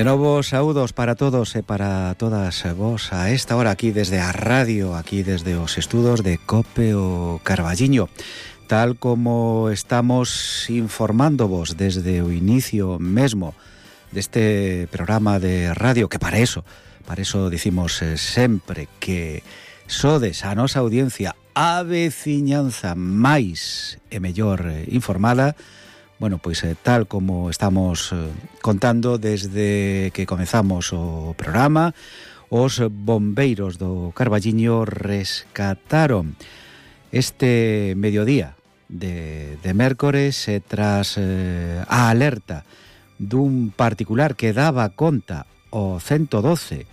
De novo, saúdos para todos e para todas vos a esta hora aquí desde a radio, aquí desde os estudos de COPE o Carballiño. Tal como estamos informándovos desde o inicio mesmo deste programa de radio, que para eso dicimos sempre que sodes a nosa audiencia a veciñanza máis e mellor informada. Bueno, pois tal como estamos contando desde que comezamos o programa, os bombeiros do Carballiño rescataron este mediodía de mércores tras a alerta dun particular que daba conta o 112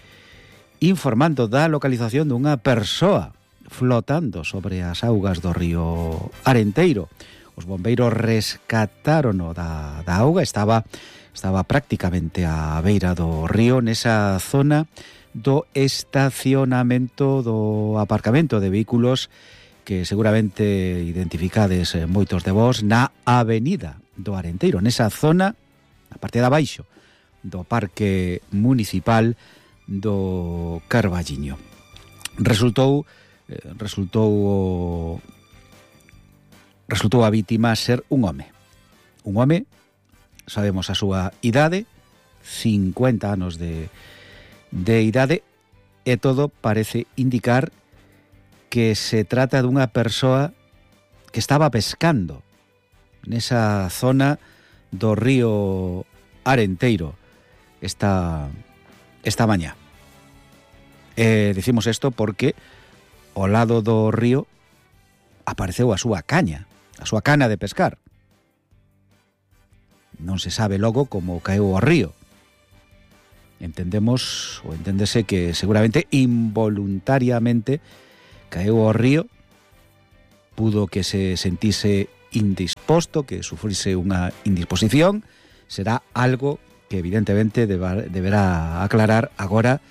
informando da localización dunha persoa flotando sobre as augas do río Arenteiro. Os bombeiros rescatárono da auga, estaba prácticamente á beira do río, nesa zona do estacionamento do aparcamento de vehículos que seguramente identificades moitos de vós na avenida do Arenteiro, nesa zona, a parte de abaixo do Parque Municipal do Carballiño. Resultou a vítima ser un home. Un home, sabemos a súa idade, 50 anos de idade, e todo parece indicar que se trata dunha persoa que estaba pescando nesa zona do río Arenteiro esta mañá. Dicimos isto porque ao lado do río apareceu a súa cana de pescar. Non se sabe logo como caeu ao río. Enténdese que seguramente involuntariamente caeu ao río, pudo que se sentise indisposto, que sufrise unha indisposición. Será algo que evidentemente deberá aclarar agora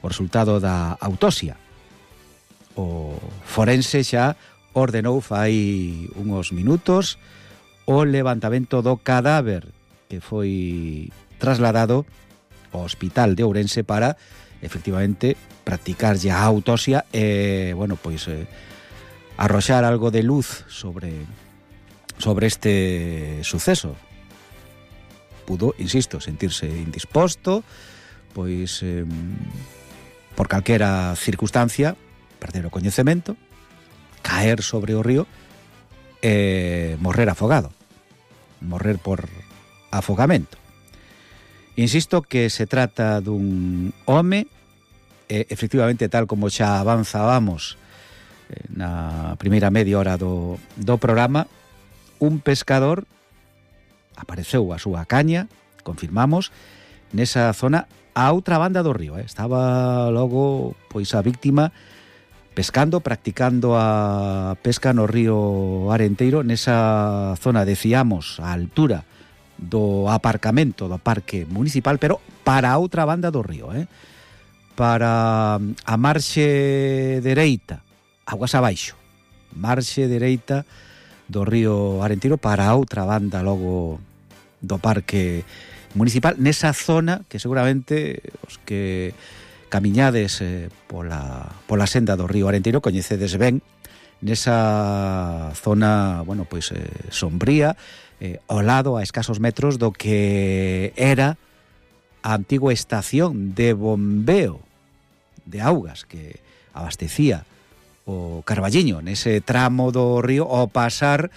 o resultado da autopsia. O forense xa ordenou fai uns minutos o levantamento do cadáver que foi trasladado ao Hospital de Ourense para efectivamente practicarlle a autopsia e, arroxar algo de luz sobre este suceso. Pudo, insisto, sentirse indisposto, pois por calquera circunstancia, perder o coñecemento, caer sobre o río e morrer afogado, morrer por afogamento. Insisto que se trata dun home, efectivamente, tal como xa avanzábamos na primeira media hora do programa, un pescador apareceu a súa caña, confirmamos, nesa zona a outra banda do río. Estaba logo pois a víctima pescando, practicando a pesca no río Arenteiro, nesa zona, decíamos, a altura do aparcamento do Parque Municipal, pero para a outra banda do río, para a marxe dereita, aguas abaixo, marxe dereita do río Arenteiro, para a outra banda logo do Parque Municipal, nesa zona que seguramente os que camiñades pola senda do río Arenteiro coñecedes ben, nesa zona, sombría, ao lado, a escasos metros do que era a antigua estación de bombeo de augas que abastecía o Carballiño, nese tramo do río, ao pasar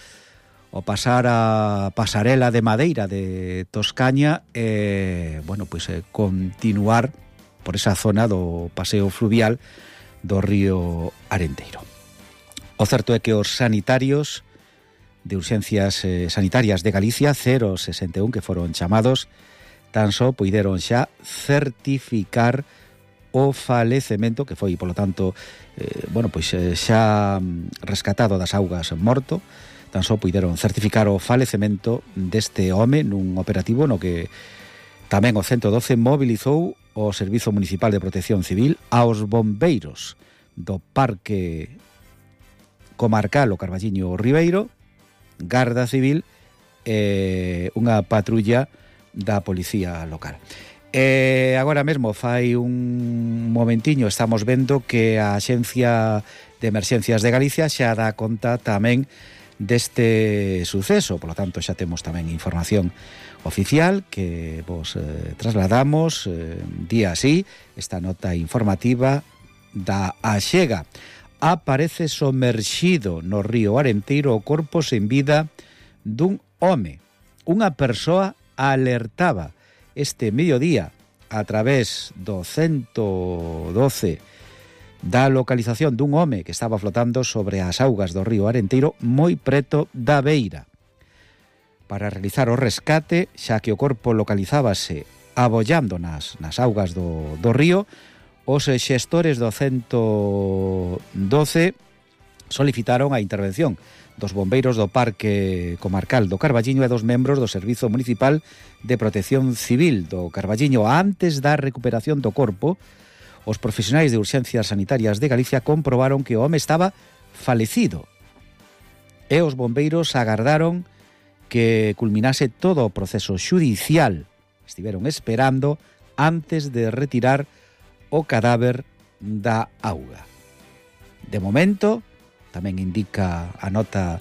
a pasarela de madeira de Toscaña e, continuar por esa zona do paseo fluvial do río Arenteiro. O certo é que os sanitarios de urxencias sanitarias de Galicia 061 que foron chamados tan só puideron xa certificar o falecemento, que foi, polo tanto, xa rescatado das augas morto. Tan só puideron certificar o falecemento deste home nun operativo no que tamén o 112 mobilizou o Servizo Municipal de Protección Civil, aos bombeiros do Parque Comarcal o Carballiño Ribeiro, Garda Civil e unha patrulla da Policía Local. Agora mesmo fai un momentiño estamos vendo que a Axencia de Emerxencias de Galicia xa dá conta tamén deste suceso, polo tanto xa temos tamén información oficial que vos trasladamos día así, esta nota informativa da Axega. Aparece somerxido no río Arenteiro o corpo sen vida dun home. Unha persoa alertaba este mediodía a través do 112 da localización dun home que estaba flotando sobre as augas do río Arenteiro moi preto da beira. Para realizar o rescate, xa que o corpo localizábase abollando nas augas do río, os xestores do 112 solicitaron a intervención dos bombeiros do Parque Comarcal do Carballiño e dos membros do Servizo Municipal de Protección Civil do Carballiño. Antes da recuperación do corpo, os profesionais de urxencias sanitarias de Galicia comprobaron que o home estaba falecido e os bombeiros agardaron que culminase todo o proceso xudicial. Estiveron esperando antes de retirar o cadáver da auga. De momento, tamén indica a nota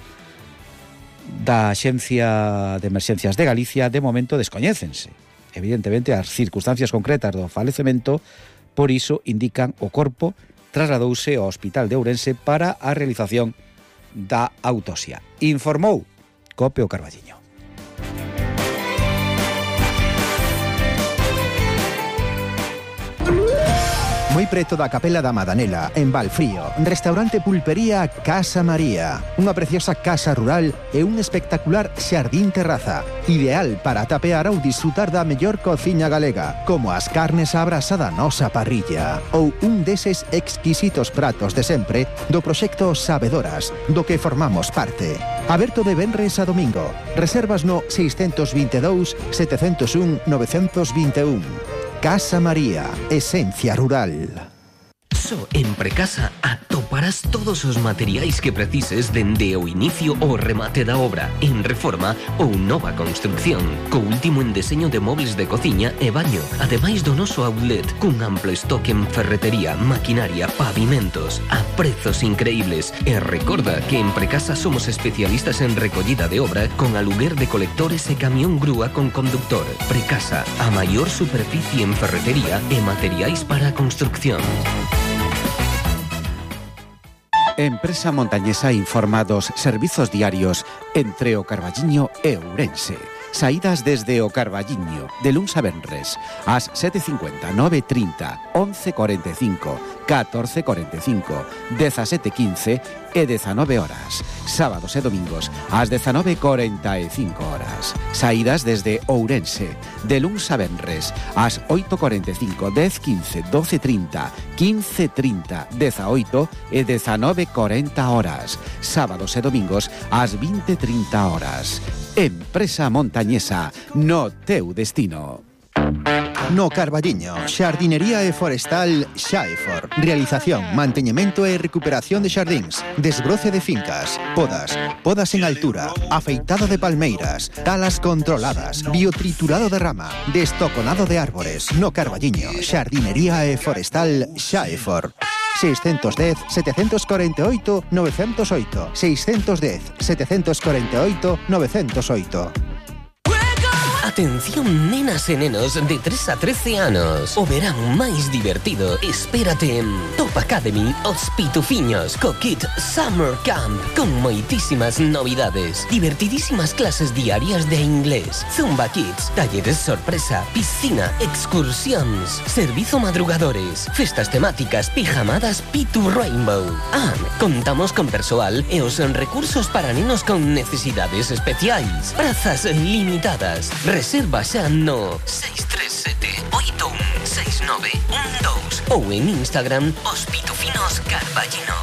da Axencia de Emerxencias de Galicia, de momento descoñécense, evidentemente, as circunstancias concretas do falecemento, por iso indican o corpo trasladouse ao Hospital de Ourense para a realización da autopsia. Informou Cope o Carballiño. Moi preto da Capela da Madanela, en Valfrío, restaurante pulpería Casa María, unha preciosa casa rural e un espectacular xardín terraza, ideal para tapear ou disfrutar da mellor cociña galega, como as carnes á brasa da nosa parrilla, ou un deses exquisitos pratos de sempre do proxecto Sabedoras, do que formamos parte. Aberto de venres a domingo. Reservas no 622 701 921. Casa María, esencia rural. Só en Precasa atoparás todos os materiais que precises dende o inicio ao remate da obra, en reforma ou nova construcción, co último en deseño de mobles de cociña e baño, ademais do noso outlet, cun amplo estoque en ferretería, maquinaria, pavimentos, a prezos increíbles. E recorda que en Precasa somos especialistas en recollida de obra con aluguer de colectores e camión grúa con conductor. Precasa, a maior superficie en ferretería e materiais para a construcción. Empresa Montañesa informa dos servizos diarios entre o Carballiño e Ourense. Saídas desde o Carballiño, de luns a venres, ás 7:50, 9:30, 11:45, 14:45, 17:15 e 19 horas. Sábados e domingos, ás 19:45 horas. Saídas desde Ourense, de luns a venres, ás 8:45, 10:15, 12:30, 15:30, 18 e 19:40 horas. Sábados e domingos, ás 20:30 horas. Empresa Montañesa, no teu destino. No Carballiño, xardinería e forestal Xaefor. Realización, manteñemento e recuperación de xardíns, desbroce de fincas, podas en altura, afeitado de palmeiras, talas controladas, biotriturado de rama, destoconado de árbores. No Carballiño, xardinería e forestal Xaefor. 610 748 908 610 748 908. Atención, nenas e nenos de 3 a 13 anos. O verán máis divertido espérate en Top Academy Os Pitufiños co Kit Summer Camp, con moitísimas novidades, divertidísimas clases diarias de inglés, Zumba Kids, talleres sorpresa, piscina, excursións, servizo madrugadores, festas temáticas, pijamadas Pitu Rainbow. Contamos con persoal e os recursos para nenos con necesidades especiais. Prazas limitadas. Reserva xa no 637 816912 ou en Instagram Os Pitufinos Carballiño.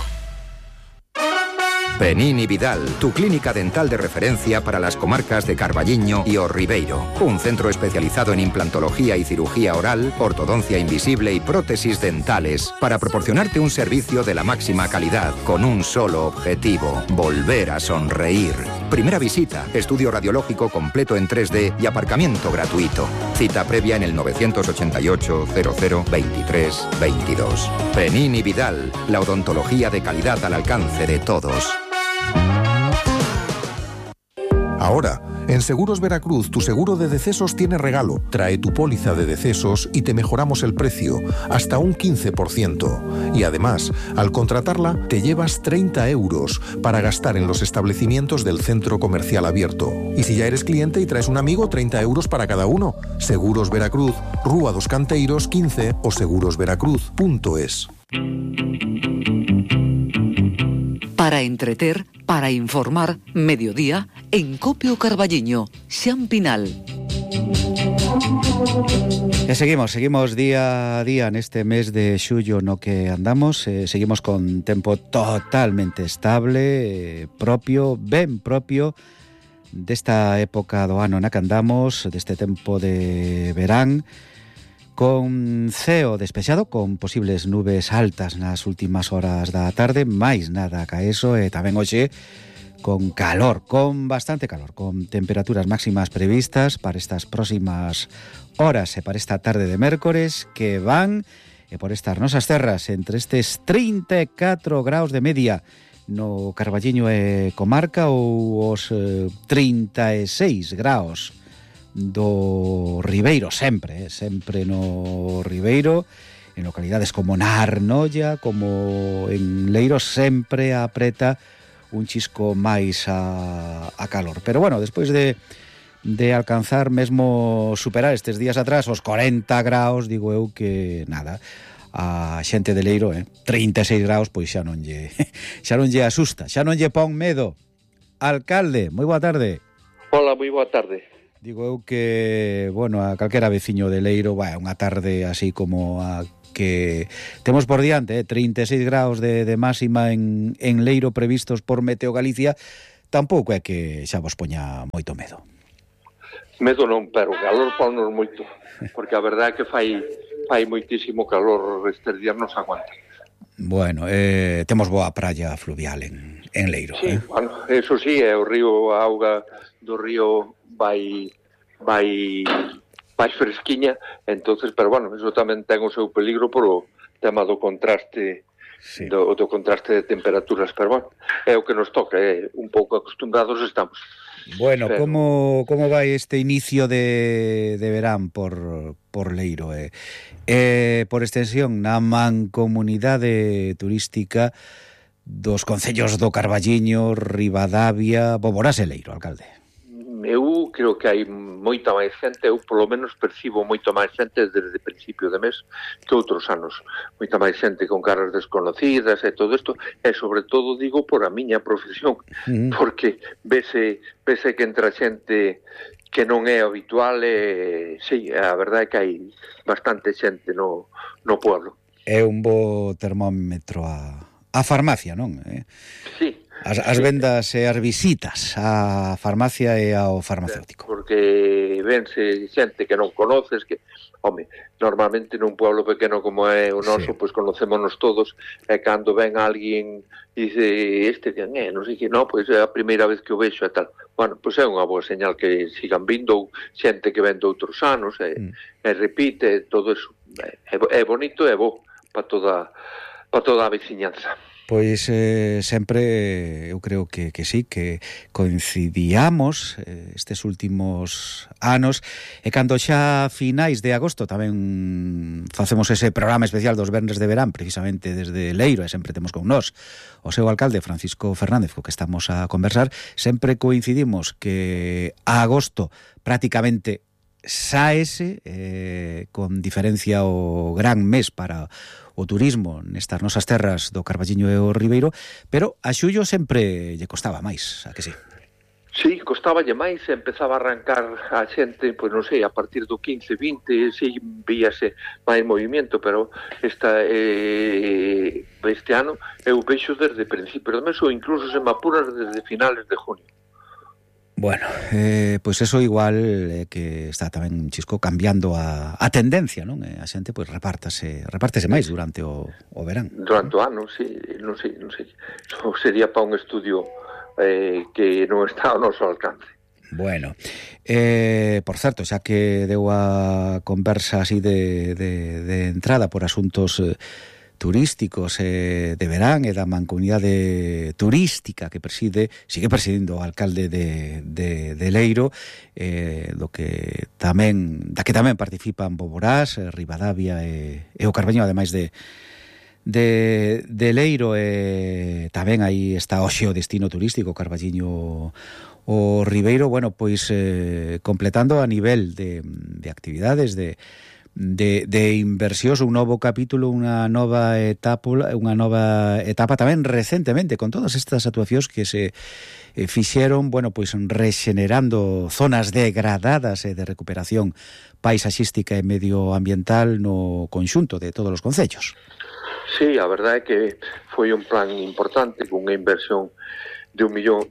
Penini Vidal, tu clínica dental de referencia para las comarcas de Carballiño y O Ribeiro. Un centro especializado en implantología y cirugía oral, ortodoncia invisible y prótesis dentales para proporcionarte un servicio de la máxima calidad con un solo objetivo: volver a sonreír. Primera visita, estudio radiológico completo en 3D y aparcamiento gratuito. Cita previa en el 988 00 23 22. Penin y Vidal, la odontología de calidad al alcance de todos. Ahora, en Seguros Veracruz, tu seguro de decesos tiene regalo. Trae tu póliza de decesos y te mejoramos el precio, hasta un 15%. Y además, al contratarla, te llevas 30 euros para gastar en los establecimientos del centro comercial abierto. Y si ya eres cliente y traes un amigo, 30 euros para cada uno. Seguros Veracruz, Rúa dos Canteiros 15 o segurosveracruz.es. Para entreter, para informar, mediodía, en Copio Carballiño, Xan Pinal. E seguimos día a día neste mes de xullo no que andamos, seguimos con tempo totalmente estable, propio, ben propio desta época do ano na que andamos, deste tempo de verán, con ceo despexado, con posibles nubes altas nas últimas horas da tarde, máis nada ca eso, e tamén hoxe con calor, con bastante calor, con temperaturas máximas previstas para estas próximas horas e para esta tarde de mércores que van, e por estas nosas terras, entre estes 34 graus de media no Carballiño e comarca ou os 36 graus do Ribeiro, sempre no Ribeiro, en localidades como na Arnolla, como en Leiro, sempre apreta un chisco máis a calor. Pero bueno, despois de alcanzar, mesmo superar estes días atrás os 40 graus, digo eu que nada, a xente de Leiro, 36 graus, pois xa non lle asusta, xa non lle pon medo. Alcalde, moi boa tarde. Hola, moi boa tarde. Digo eu que, bueno, a calquera veciño de Leiro, unha tarde así como a que temos por diante, 36 graus de máxima en Leiro previstos por Meteo Galicia, tampouco é que xa vos poña moito medo. Medo non, pero calor ponnos moito, porque a verdade é que fai moitísimo calor, estes días non se aguanta. Bueno, temos boa praia fluvial en Leiro. Sí, bueno, eso sí, o río, a auga do río vai fresquiña, entonces, pero bueno, eso tamén ten o seu peligro por o tema do contraste, sí, do contraste de temperaturas, pero bueno, é o que nos toca, un pouco acostumbrados estamos. Bueno, pero como vai este inicio de verán por Leiro? Por extensión, na mancomunidade turística dos concellos do Carballiño, Ribadavia, Boborás e Leiro, alcalde. Eu creo que hai moita máis xente, eu polo menos percibo moita máis xente desde principio de mes que outros anos. Moita máis xente con caras desconocidas e todo isto, e sobre todo digo por a miña profesión, porque vese que entra xente que non é habitual, sí, a verdade é que hai bastante xente no pueblo. É un bo termómetro a farmacia, non? Sí. As vendas e as visitas á farmacia e ao farmacéutico. Porque vense xente que non conoces, que, home, normalmente nun pueblo pequeno como é o noso, sí, pois conocémonos todos, e cando ven alguén e dice, non sei que, non, pois é a primeira vez que o vexo e tal. Bueno, pois é unha boa señal que sigan vindo, xente que ven de outros anos, e repite, todo eso. É bonito e bo para toda a veciñanza. Pois sempre eu creo que sí, que coincidíamos estes últimos anos, e cando xa finais de agosto tamén facemos ese programa especial dos Venres de Verán, precisamente desde Leiro, e sempre temos con nós o seu alcalde Francisco Fernández, co que estamos a conversar, sempre coincidimos que a agosto prácticamente saese, con diferencia o gran mes para o turismo nestas nosas terras do Carballiño e o Ribeiro, pero a xullo sempre lle costaba máis, a que sí? Sí, costaballe máis, empezaba a arrancar a xente, pois non sei, a partir do 15, 20, sí, víase máis movimento, pero este ano eu vexo desde principio do mes, ou incluso se me apuras desde finales de junio. Bueno, pois eso igual que está tamén un chisco cambiando a tendencia, non? A xente pois repártese máis durante o verán. Durante o ano, sí, non sei. Eso sería para un estudio que non está ao noso alcance. Bueno, por certo, xa que deu a conversa así de entrada por asuntos turísticos de verán e da mancomunidade turística que sigue presidindo o alcalde de Leiro, da que tamén participan Boborás, Ribadavia e o Carballiño, ademais de Leiro, tamén aí está hoxe o destino turístico Carballiño o Ribeiro. Bueno, pois completando a nivel de actividades, de inversións, un novo capítulo, unha nova etapa tamén recentemente, con todas estas actuacións que se fixeron, bueno, pois rexenerando zonas degradadas e de recuperación paisaxística e medioambiental no conxunto de todos os concellos. Sí, a verdade é que foi un plan importante, con unha inversión de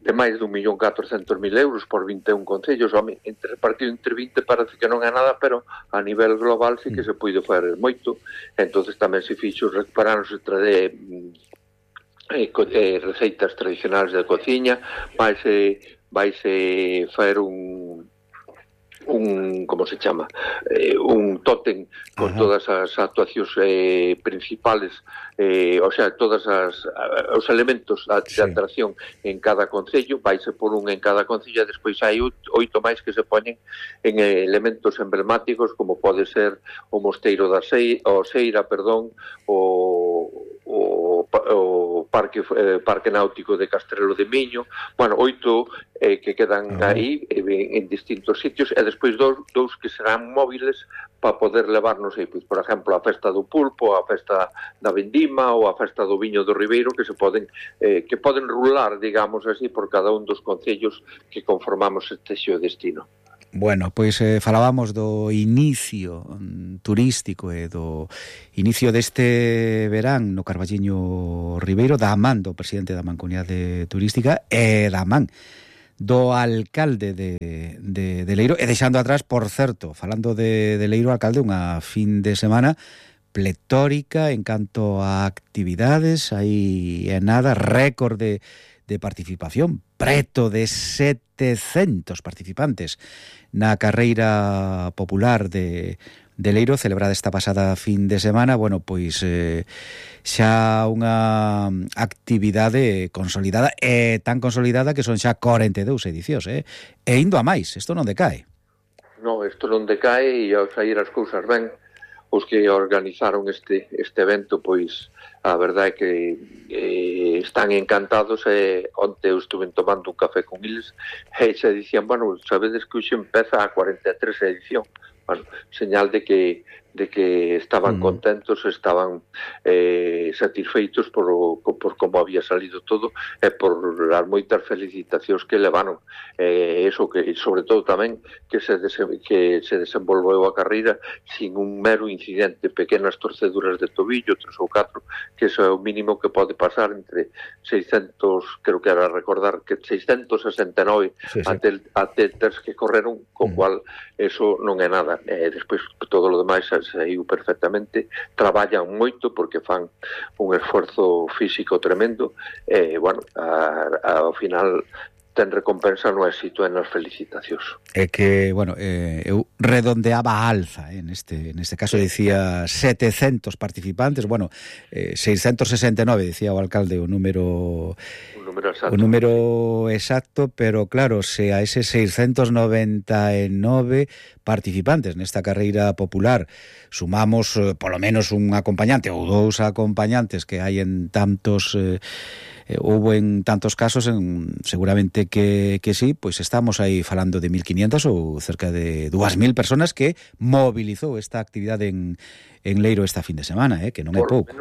máis de 1.400.000 euros por 21 concellos. Repartido entre 20 parece que non é nada, pero a nivel global sí que se puido fazer moito. Entonces tamén se fixo recuperarnos receitas tradicionais de cociña, vaise fazer como se chama, un tótem con todas as actuacións principales, o sea, todos os elementos de atracción en cada concello, vaise por un en cada concello, e despois hai 8 máis que se poñen en elementos emblemáticos, como pode ser o Mosteiro da Seira, o Parque Náutico de Castrelo de Miño. Bueno, 8 que quedan aí en distintos sitios, e despois dous que serán móviles para poder levarnos aí, por exemplo, a festa do pulpo, a festa da vendima ou a festa do viño do Ribeiro, que poden rular, digamos así, por cada un dos concellos que conformamos este xeodestino. Bueno, pois falábamos do inicio turístico e do inicio deste verán no Carballiño Ribeiro, da man do presidente da Mancomunidade Turística e da man do alcalde de Leiro, e deixando atrás, por certo, falando de Leiro, alcalde, unha fin de semana pletórica en canto a actividades, aí é nada, récord de participación, preto de 700 participantes na carreira popular de Leiro, celebrada esta pasada fin de semana. Bueno, pois xa unha actividade consolidada, e tan consolidada que son xa 42 edicións, e indo a máis, isto non decae. Non, isto non decae, e ao sair as cousas ben, os que organizaron este evento, pois a verdade é que están encantados. Onte eu estuve tomando un café con eles e se dicían, bueno, sabedes que hoxe empeza a 43 edición. Bueno, señal de que estaban contentos, estaban satisfeitos por como había salido todo, e por as moitas felicitacións que levaron. Eso que, sobre todo tamén, que se desenvolveu a carreira sin un mero incidente, pequenas torceduras de tobillo, 3 ou 4, que eso é o mínimo que pode pasar entre 600, creo que era recordar, que 669 atletas que correron, co cual eso non é nada. Despois todo o demais saiu perfectamente, traballan moito porque fan un esforzo físico tremendo, e, bueno, ao final ten recompensa no éxito e nas felicitacións. É que, bueno, eu redondeaba a alza, neste caso dicía 700 participantes, bueno, 669, dicía o alcalde o número exacto, pero claro, se a ese 699 participantes nesta carreira popular sumamos polo menos un acompañante ou 2 acompañantes que hai en tantos houbo en tantos casos, seguramente que sí, pois estamos aí falando de 1.500 ou cerca de 2.000 personas que mobilizou esta actividade en Leiro esta fin de semana, que non é pouco.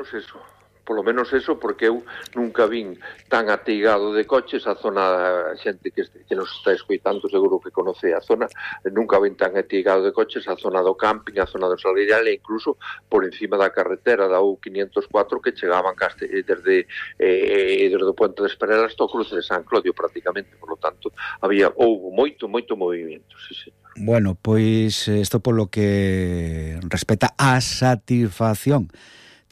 Polo menos eso, porque eu nunca vin tan ateigado de coches a zona, a xente que nos está escoitando seguro que conoce a zona, nunca vin tan ateigado de coches a zona do camping, a zona do Salgueiral, e incluso por encima da carretera da U504 que chegaban desde o Puente de Esperela hasta o cruce de San Clodio prácticamente. Por lo tanto, houve moito movimento, sí, señor. Bueno, pois isto polo que respecta á satisfacción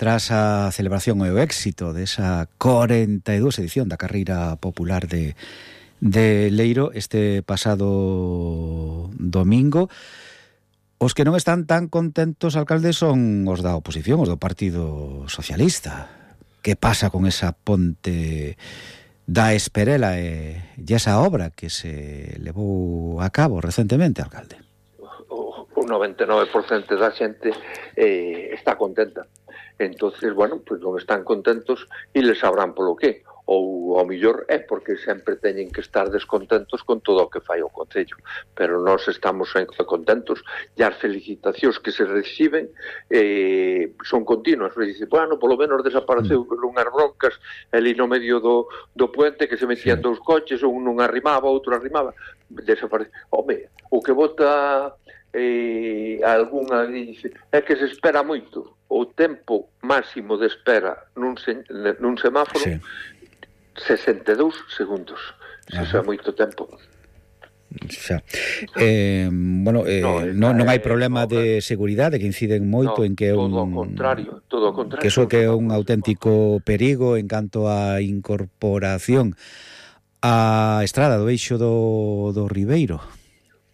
tras a celebración e o éxito desa 42 edición da Carreira Popular de Leiro este pasado domingo, os que non están tan contentos, alcalde, son os da oposición, os do Partido Socialista. Que pasa con esa ponte da Esperela e esa obra que se levou a cabo recentemente, alcalde? O 99% da xente está contenta. Entonces, bueno, pues non están contentos e les sabrán polo que. Ou ao millor é porque sempre teñen que estar descontentos con todo o que fai o Concello, pero nós estamos contentos e as felicitacións que se reciben son continuas. Dice, bueno, polo menos desapareceu unhas broncas ali no medio do puente que se metían dous coches, un non arrimaba, outro arrimaba, desaparece. Home, o que vota algunha dice é que se espera moito. O tempo máximo de espera nun semáforo 62 segundos. Eso é moito tempo. Non hai problema de seguridade, que inciden moito en que é un... Todo o contrario. Que iso que é un auténtico perigo en canto á incorporación á estrada do eixo do Ribeiro.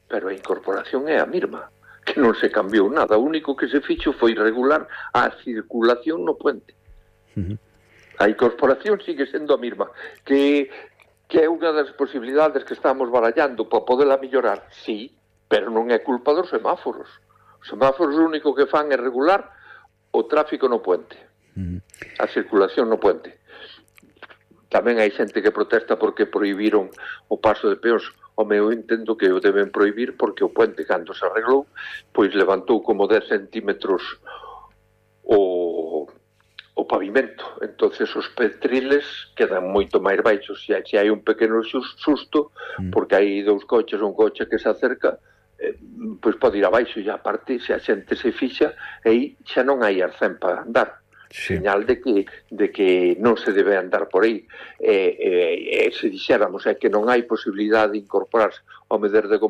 Pero a incorporación é a mesma, que non se cambiou nada. O único que se fixo foi regular a circulación no puente. A incorporación sigue sendo a mesma, que é unha das posibilidades que estamos barallando para poderla mellorar, sí, pero non é culpa dos semáforos. Os semáforos o único que fan é regular o tráfico no puente, a circulación no puente. Tamén hai xente que protesta porque prohibiron o paso de peóns. Home, eu entendo que o deben prohibir porque o puente, cando se arreglou, pois levantou como 10 centímetros o pavimento. Entonces os petriles quedan moito máis baixos. Se hai un pequeno susto, porque hai dous coches, un coche que se acerca, pois pode ir abaixo, e aparte, se a xente se fixa, aí xa non hai arcén para andar. Señal de que non se debe andar por aí. Se dixéramos que non hai posibilidade de incorporarse ao medero de